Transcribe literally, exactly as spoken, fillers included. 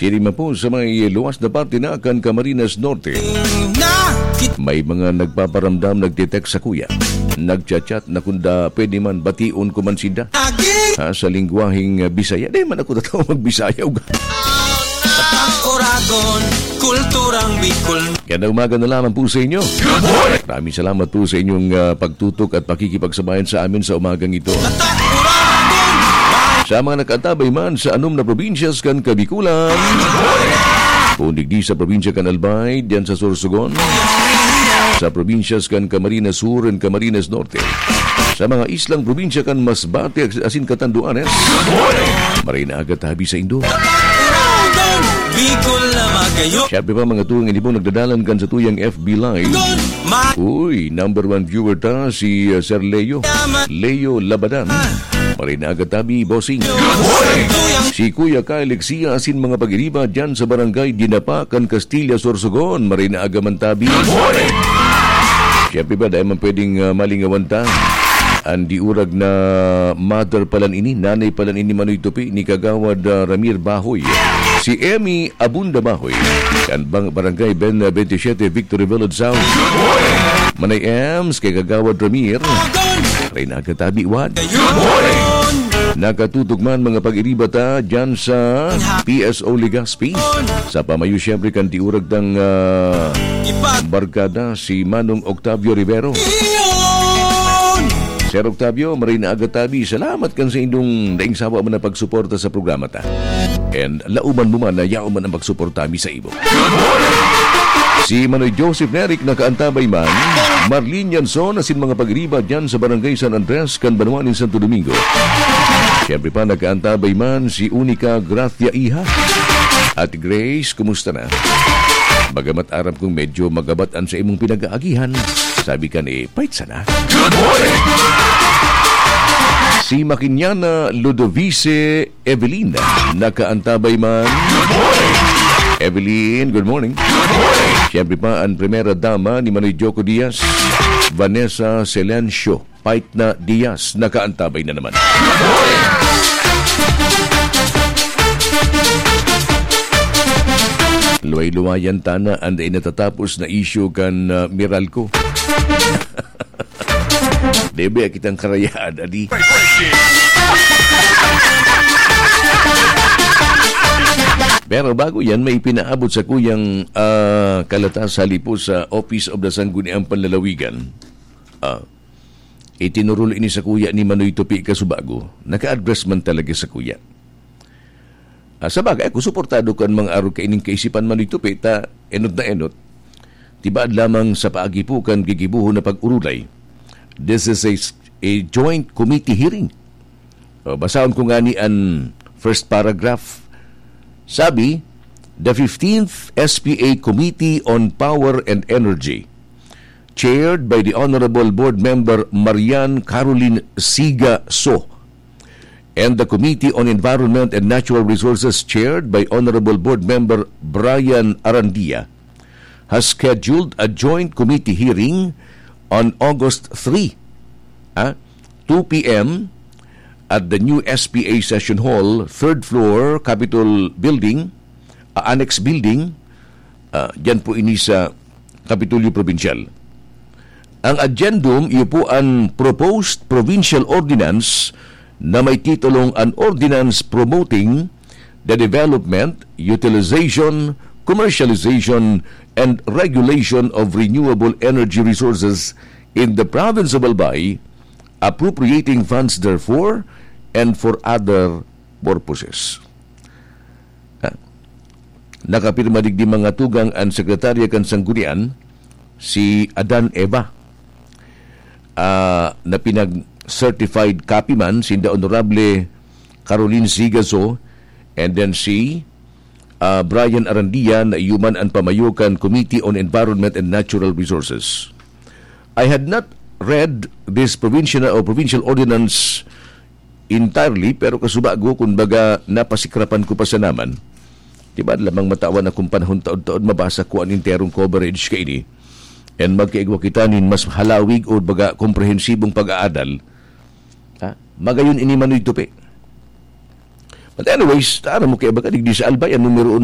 Diri man po sa may luwas na parte na kan Camarines Norte. May mga nagpaparamdam, nagte-text sa kuya. Nagchat-chat na kunda pwede man bation ko man sinda. Ha, sa lingwaheng, ah, Bisaya. Di man ako tataw magbisaya. Ug Oragon, kulturang Bicol. Gandang umaga na lamang po sa inyo. Maraming salamat po sa inyong, ah, pagtutok at pakikipagsabayan sa amin sa umagang ito. Sa mga nakaantabay man sa anom na probinsyas kan Kabikulan, kung digdi sa probinsya kan Albay, diyan sa Sorsogon, sa probinsyas kan Camarines Sur and Camarines Norte, sa mga islang probinsya kan Masbate asin Catanduanes, maray na aga tabi sa indo. Bicol na magayo. Siyempre pa, mga tugang inibong nagdadalan kan sa tuyang F B Live. Uy, number one viewer ta, si, uh, Sir Leo. Leo Labadan. Maray na aga tabi, bossing. Si Kuya Kyle Lexia asin mga pag-iriba dyan sa barangay Dinapa, kan Castilla, Sorsogon. Maray na aga man tabi. Siyempre ba, dahil man pwedeng, uh, malingawan ta. An diurag na mother palan ini, nanay palan ini, Manoy Tupi, ni Kagawad, ah, Ramir Bahoy. Si Emmy Abunda Bahoy, kan bang-, Barangay Ben, ah, twenty-seven, Victory Village South. Manay Ems, kay Kagawad Ramir. Reyna Katabi, Wad. Nakatutok man mga pag-iriba ta dyan sa P S O Legazpi. Sa pamayo, siyempre, kan diurag tang, ah, barkada, si Manong Octavio Rivero. Sir Octavio, maray na aga tabi. Salamat kan sa indong daing sawa man na pagsuporta sa programa ta. And lauman mo man na yaon man ang pagsuporta mi sa imo. Si Manoy Joseph Neric nakaantabay man. Marlene Yanson asin mga pag-iriba dyan sa Barangay San Andres kan banwa nin Santo Domingo. Siyempre pa, nakaantabay man si Unica Gracia Iha. Ate Grace, kumusta na? Bagamat aram kong medyo magabat an sa imong pinag-aagihan, sabi ka ni Pait sana. Good morning! Si Makinyana Ludovice Evelyn, nakaantabay man. Good morning! Evelyn, good morning. Good morning! Siyempre pa, ang primera dama ni Manoy Joko Diaz, Vanessa Silencio. Pait na Diaz, nakaantabay na naman. Luway-luwayan tana an dai natatapos na isyu kan, ah, Meralco. Debe kitang karayaan, adi. Pero bago yan, may pinaabot sa kuyang, ah, kalata sa lipo sa Office of the Sangguniang Panlalawigan. Ah, Itinurol ini sa kuya ni Manoy Tupi Kasubago. Naka-address man talaga sa kuya. Ah, sa bagay, ako suportado kan mga arog kaining kaisipan Manoy Tupi, ta enot na enot. Tibaad lamang sa paagi po kan gigibuhon na pag-urulay. This is a, a joint committee hearing. O, basahon ko ngani an first paragraph. Sabi, "The fifteenth S P A Committee on Power and Energy, chaired by the Honorable Board Member Marian Caroline Siga So, and the Committee on Environment and Natural Resources, chaired by Honorable Board Member Brian Arandia, has scheduled a joint committee hearing on August three, ah, two p m, at the new S P A Session Hall, third floor, Capitol Building, ah, Annex Building, ah, dyan po ini sa Kapitolyo Probinsyal. Ang agendum, iyo po an proposed provincial ordinance na may titulong An Ordinance Promoting the Development, Utilization, Commercialization, and Regulation of Renewable Energy Resources in the Province of Albay, appropriating funds therefore and for other purposes." Ah, nakapirma digdi mga tugang an sekretarya kan Sanggunian, si Adan Eva, ah, na pinag-certified copy man sinda Honorable Caroline Sigaso, and then si, ah, Brian Arandia na iyo man an pamayo kan Committee on Environment and Natural Resources. I had not read this provincial or provincial ordinance entirely, pero kasubago, kun baga, napasikrapan ko pa sana man. Di ba, lamang matawan akong panahon taod-taod mabasa ko an enterong coverage kaini. And magkaigwa kita nin mas halawig o baga komprehensibong pag-aadal. Ha? Magayon ini Manoy Tupi. But anyways, tara mo kaya baga, digdi sa Albay, ang numero uno